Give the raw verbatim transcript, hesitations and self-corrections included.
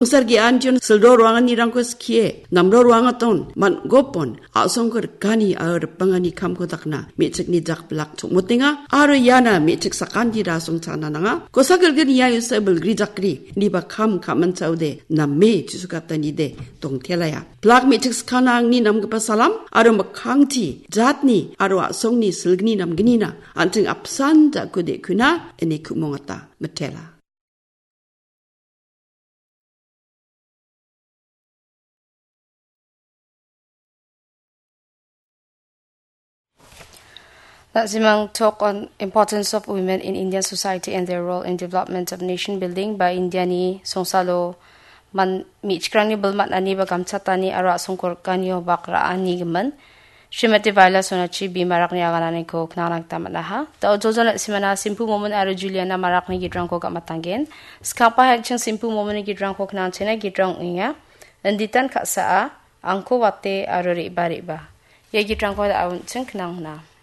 Songsar ge·antion silro roanganirangko skie, namro roangaton, man·gopon, a·songko rikani aro ripangani kamko dakna, me·chikni jakbilak chongmotenga, aro iana me·chik sakantira songchana nanga. Kosa gilgin ia yusa bilgri jakri, niba kam ka·manchaode, name chisukatanide, dongtelaya. Blak me·chik sakana angni namgipa salam, aro mikkangti, jatni, aro a·songni silgni namgnina, an·ching apsan jako de·kuna, ine ku·mongata, mitela. Na·simang talk on importance of women in Indian society and their role in development of nation building ba Indiani songsalo man mi·chikrangni bilmatani ba gamchatani aro a·songko rikani obak ra·ani gimin. Srimati Vaila Sonachi bimarakni agananiko knangna gita man·aha. Da·o jojon na·simana Simpu Momon aro Juliana Marakni gitrangko gamatanggen. Skangpa hekching Simpu Momonni gitrangko knangchena gitrang ong·enga. Inditan ka·saa, angko wate aro re·ba re·ba. Ia gitrangko da·o an·ching knangna.